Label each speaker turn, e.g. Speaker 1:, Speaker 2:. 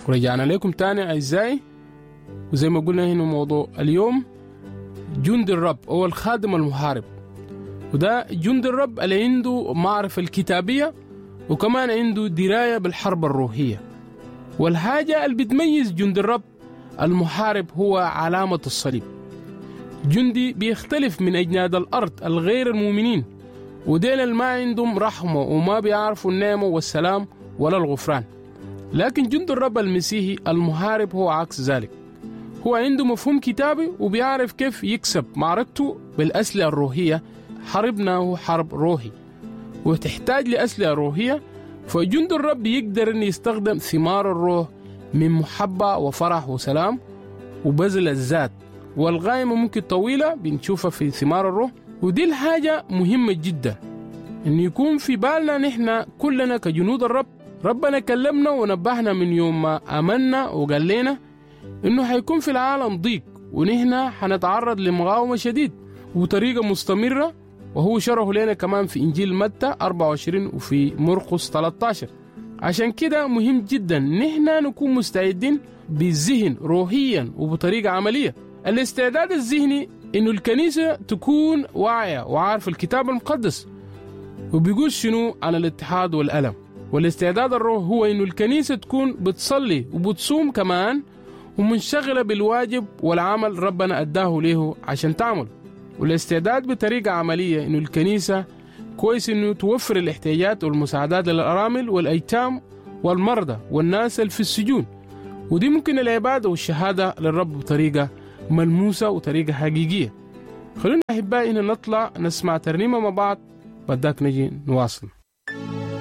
Speaker 1: ورجعنا لكم تاني أعزائي، وزي ما قلنا هنا موضوع اليوم جند الرب أو الخادم المحارب. وده جند الرب اللي عنده معرفة الكتابية وكمان عنده دراية بالحرب الروحية. والحاجة اللي بتميز جند الرب المحارب هو علامة الصليب. جندي بيختلف من أجناد الأرض الغير المؤمنين، وديل اللي ما عندهم رحمة وما بيعرفوا النعمة والسلام ولا الغفران. لكن جند الرب المسيحي المحارب هو عكس ذلك، هو عنده مفهوم كتابي وبيعرف كيف يكسب معركته بالأسلحة الروحية. حربنا هو حرب روحي وتحتاج لأسلحة روحية، فجند الرب يقدر أن يستخدم ثمار الروح من محبة وفرح وسلام وبذل الذات، والغايمة ممكن طويلة بنشوفها في ثمار الروح. ودي الحاجة مهمة جدا إن يكون في بالنا نحن كلنا كجنود الرب. ربنا كلمنا ونبهنا من يوم ما آمنا وقال لنا إنه حيكون في العالم ضيق، ونحن حنتعرض لمقاومة شديد وطريقة مستمرة، وهو شرحه لنا كمان في إنجيل متى 24 وفي مرقس 13. عشان كده مهم جدا نحن نكون مستعدين بالذهن روحيا وبطريقة عملية. الاستعداد الذهني إنه الكنيسة تكون واعية وعارفة الكتاب المقدس وبيقول شنو عن الاتحاد والألم. والاستعداد الروح هو إنه الكنيسة تكون بتصلي وبتصوم كمان ومنشغلة بالواجب والعمل ربنا أداه له عشان تعمل. والاستعداد بطريقة عملية إنه الكنيسة كويس إنه توفر الاحتياجات والمساعدات للأرامل والأيتام والمرضى والناس اللي في السجون، ودي ممكن العبادة والشهادة للرب بطريقة ملموسة وطريقة حقيقية. خلونا أحبائي إن نطلع نسمع ترنيمة مع بعض، بعدك نجي نواصل.